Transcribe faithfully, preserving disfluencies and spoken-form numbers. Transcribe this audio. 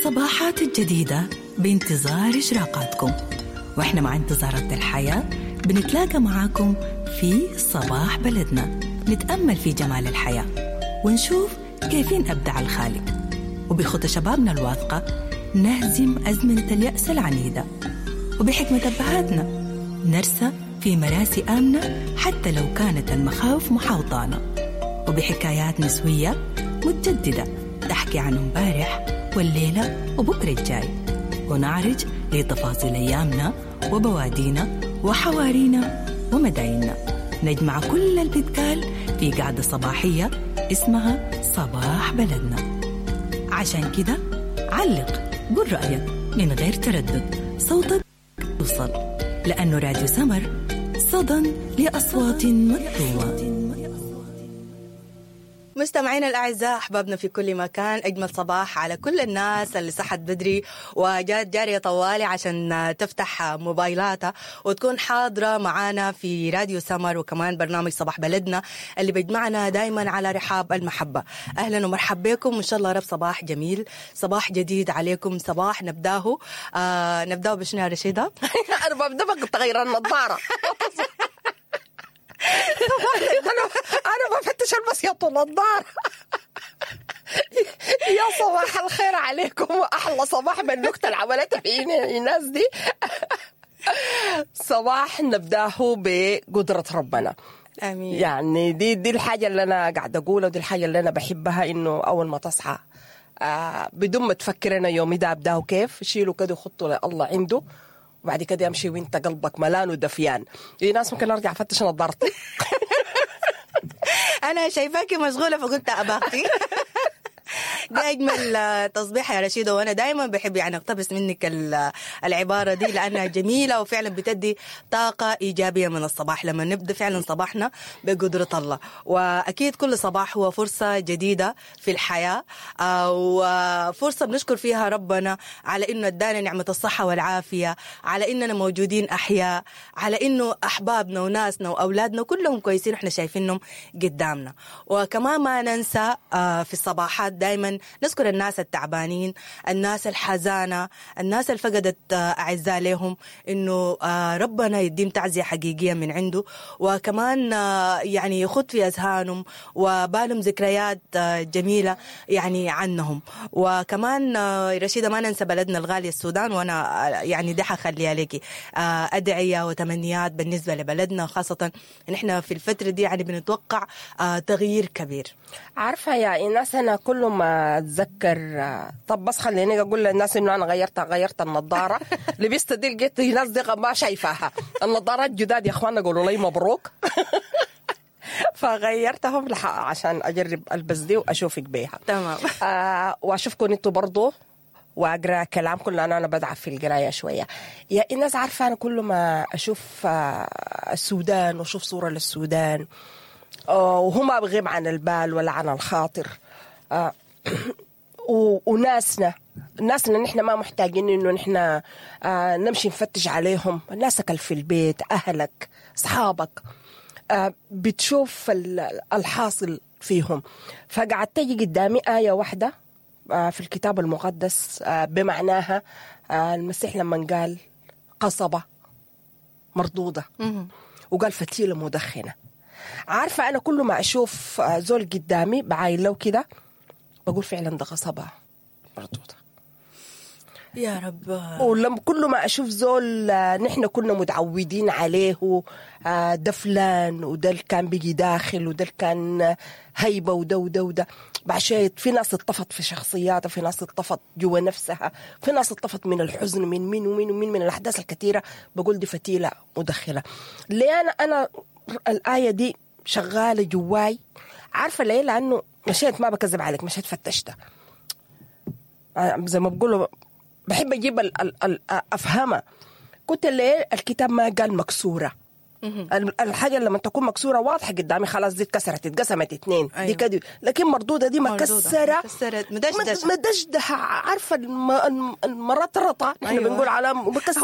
الصباحات الجديدة بانتظار إشراقاتكم، وإحنا مع انتظارات الحياة بنتلاقى معاكم في صباح بلدنا، نتأمل في جمال الحياة ونشوف كيفين أبدع الخالق، وبخطى شبابنا الواثقة نهزم أزمنة اليأس العنيدة، وبحكمة أبهاتنا نرسى في مراسي آمنة حتى لو كانت المخاوف محاوطانا، وبحكايات نسوية متجددة تحكي عن امبارح والليلة وبكرة الجاي، ونعرج لتفاصيل أيامنا وبوادينا وحوارينا ومدايننا. نجمع كل البتقال في قعدة صباحية اسمها صباح بلدنا. عشان كده علق، قل رأيك من غير تردد، صوتك يوصل، لأنه راديو سمر صدى لأصوات مكتومة. مستمعينا الأعزاء، أحبابنا في كل مكان، أجمل صباح على كل الناس اللي صحت بدري وجات جارية طوالي عشان تفتح موبايلاتها وتكون حاضرة معانا في راديو سمر، وكمان برنامج صباح بلدنا اللي بيجمعنا دايما على رحاب المحبة. أهلا ومرحبا بكم، وإن شاء الله رب صباح جميل، صباح جديد عليكم، صباح نبداه آه نبداه بشنو يا رشيدة؟ أنا ببدأ بتغير النظارة. انا انا بفتش البس يا النظارة. يا صباح الخير عليكم، واحلى صباح بالنكته اللي عملتها فينا الناس دي. صباح نبداه بقدره ربنا، امين. يعني دي دي الحاجة اللي انا قاعدة اقولها، ودي الحاجة اللي انا بحبها، انه اول ما تصحى آه بدون ما تفكر انا يومي ده ابداه كيف، شيله كده وخطه لله عنده، وبعد كده امشي وانت قلبك ملان ودفيان. في ناس ممكن ارجع افتش نظارتي. انا شايفاكي مشغولة فقلت اباختي. دي اجمل تصبيحه يا رشيده، وانا دائما بحب يعني اقتبس منك العبارة دي لانها جميلة وفعلا بتدي طاقة ايجابية من الصباح لما نبدا فعلا صباحنا بقدره الله. واكيد كل صباح هو فرصة جديدة في الحياة، وفرصه بنشكر فيها ربنا على انه ادانا نعمه الصحة والعافية، على اننا موجودين احياء، على انه احبابنا وناسنا واولادنا كلهم كويسين واحنا شايفينهم قدامنا. وكمان ما ننسى في الصباحات دائما نذكر الناس التعبانين، الناس الحزانة، الناس اللي فقدت أعزاء لهم، إنه ربنا يديم تعزية حقيقية من عنده، وكمان يعني يخط في أذهانهم وبالهم ذكريات جميلة يعني عنهم. وكمان رشيدة ما ننسى بلدنا الغالية السودان، وأنا يعني دي حخليها لك أدعية وتمنيات بالنسبة لبلدنا، خاصة نحن في الفترة دي يعني بنتوقع تغيير كبير. عارفة يا إيناس، أنا كل ما اتذكر، طب بس خليني اقول للناس انه انا غيرت غيرت النظارة، لبست دي لقيت الناس دي ما شايفاها، النظارات جداد يا اخوانا، قولوا لي مبروك. فغيرتهم عشان اجرب البس دي واشوفك بيها. تمام. آه واشوفكم انتوا برضو، واقرا كلامكم لان انا بدعف في القراية شوية. يا الناس عارفه انا كل ما اشوف آه السودان واشوف صوره للسودان، آه وهما بغيب عن البال ولا عن الخاطر، آه وناسنا ناسنا نحن ما محتاجين انه نحن آه نمشي نفتش عليهم. ناسك في البيت، اهلك، اصحابك، آه بتشوف الحاصل فيهم. فقعدت تجي قدامي آية واحدة آه في الكتاب المقدس، آه بمعناها آه المسيح لما قال قصبة مردودة وقال فتيلة مدخنة. عارفة أنا كل ما أشوف زول قدامي بعاين له كده بقول فعلا ده قصبة مردودة يا رب. ولما كل ما أشوف زول نحن كنا متعودين عليه، ده فلان وده اللي كان بيجي داخل وده اللي كان هيبة وده وده وده، بعد في ناس اتطفت في شخصياتها، في ناس اتطفت جوا نفسها، في ناس اتطفت من الحزن، من مين ومين ومين، من الأحداث الكثيرة. بقول دي فتيلة مدخلة. ليه أنا أنا الآية دي شغالة جواي؟ عارفة ليه؟ لأنه مشيت، ما بكذب عليك، مشيت فتشتها زي ما بقولوا، بحب أجيب ال ال ال أفهمها. كنت ليه الكتاب ما قال مكسورة؟ الحاجة لما تكون مكسورة واضحة قدامي، خلاص دي اتكسرت، اتقسمت اتنين. أيوة. دي كده، لكن مردودة دي مكسرة، مدشدشة، مدشدشة. عارفة المرطرطة نحن. أيوة. بنقول على مكسرة.